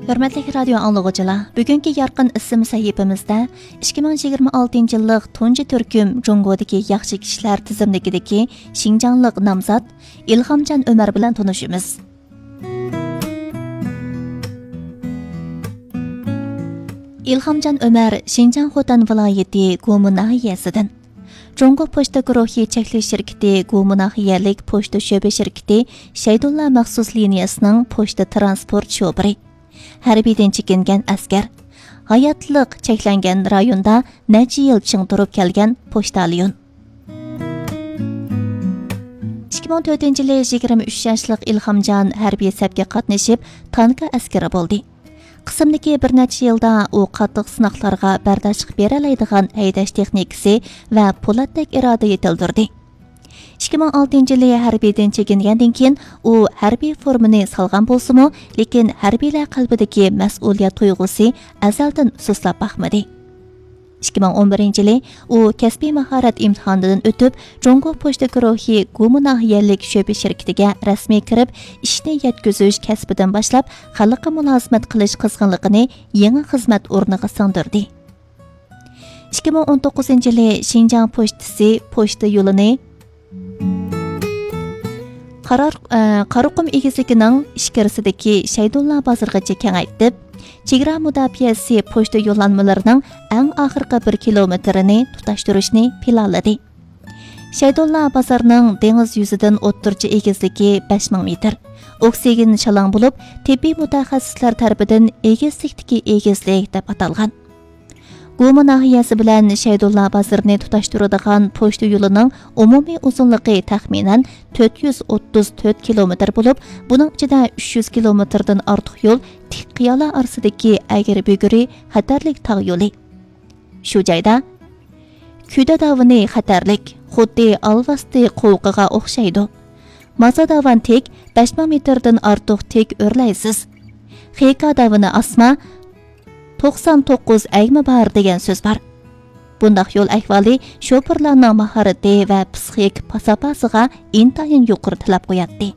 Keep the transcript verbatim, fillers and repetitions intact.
ھۆرمەتلىك رادىيو ئاڭلىغۇچىلار، بۈگۈنكى يارقىن ئىسىم سەھىپىمىزدە ئىككى مىڭ يىگىرمە ئالتىنچى يىللىق تۇنجى تۈركۈم جۇڭگودىكى ياخشى كىشىلەر تىزىملىكىدىكى شىنجاڭلىق نامزات ئىلھامجان ئۆمەر بىلەن تونۇشىمىز. ئىلھامجان ئۆمەر شىنجاڭ خوتەن ۋىلايىتى گۇمۇ ناھىيەسىدىن. جۇڭگو پوچتا گۇرۇھى چەكلىك شىركىتى گۇمۇ ناھىيەلىك پوچتا شۆبە شىركىتى شەيدۇللا مەخسۇس لىنىيەسىنىڭ پوچتا تىرانسپورت شوپۇرى. ھەربىيدىن چېكىنگەن ئەسكەر. ھاياتلىق چەكلەنگەن رايوندا نەچچە يىل چىڭ تۇرۇپ كەلگەن پوچتاليون. ئىككى مىڭ تۆتىنچى يىلى يىگىرمە ئۈچ ياشلىق ئىلھامجان ھەربىي سەپكە قاتنىشىپ، تانكا ئەسكىرى بولدى. قىسىمدىكى بىر نەچچە يىلدا ئۇ قاتتىق سىناقلارغا بەرداشلىق بېرەلەيدىغان ھەيدەش تېخنىكىسى ۋە پولاتتەك ئىرادە يېتىلدۈردى. ئىككى مىڭ ئالتىنچى يىلى ھەربىيدىن چېكىنگەندىن كېيىن، ئۇ ھەربىي فورمىنى سالغان بولسىمۇ، لېكىن ھەربىيلەر قەلبىدىكى مەسئۇلىيەت تۇيغۇسى ئەزەلدىن سۇسلاپ باقمىدى. ئىككى مىڭ ئون بىرىنچى يىلى ئۇ كەسپىي ماھارەت ئىمتىھانىدىن ئۆتۈپ، جۇڭگو پوچتا گۇرۇھى گۇمۇ ناھىيەلىك شۆبە شىركىتىگە رەسمىي كىرىپ، ئىشنى يەتكۈزۈش كەسپىدىن باشلاپ، خەلققە مۇلازىمەت قىلىش قىزغىنلىقىنى يېڭى خىزمەت ئورنىغا سىڭدۈردى. ئىككى مىڭ ئون توققۇزىنچى يىلى شىنجاڭ پوچتىسى پوچتا يولىنى قارار-، ئە، قاراقۇم ئېگىزلىكىنىڭ ئىچكىرىسىدىكى شەيدۇللا بازىرىغىچە كېڭەيتىپ، چېگرا مۇداپىئەسى پوچتا يوللانمىلىرىنىڭ ئەڭ ئاخىرقى بىر كىلومېتىرىنى تۇتاشتۇرۇشنى پىلانلىدى. شەيدۇللا بازارنىڭ دېڭىز يۈزىدىن ئوتتۇرىچە ئېگىزلىكى بەش مىڭ مېتىر، ئوكسىگېن شالاڭ بولۇپ، تېببىي مۇتەخەسسىسلەر تەرىپىدىن ئېگىزلىكتىكى ئېگىزلىك دەپ ئاتالغان. گۇمۇ ناھىيەسى بىلەن شەيدۇللا بازىرىنى تۇتاشتۇرىدىغان پوچتا يولىنىڭ ئومۇمىي ئۇزۇنلۇقى تەخمىنەن تۆت يۈز ئوتتۇز تۆت كىلومېتىر بولۇپ، بۇنىڭ ئىچىدە ئۈچ يۈز كىلومېتىردىن ئارتۇق يول تىك قىيالار ئارىسىدىكى ئەگرى-بۈگرى خەتەرلىك تاغ يولى. شۇ جايدا كۈدە داۋىنى خەتەرلىك، خۇددى ئالۋاستى قوۋۇقىغا ئوخشايدۇ. مازا داۋان تىك، بەش مىڭ مېتىردىن ئارتۇق تىك ئۆرلەيسىز. خېكا داۋىنى ئاسما، توقسان توققۇز ئەگمە بار دېگەن سۆز بار. بۇنداق يول ئەھۋالى شوپۇرلارنىڭ ماھارىتى ۋە پىسخىك پاساپاسىغا ئىنتايىن يۇقىرى تەلەپ قوياتتى.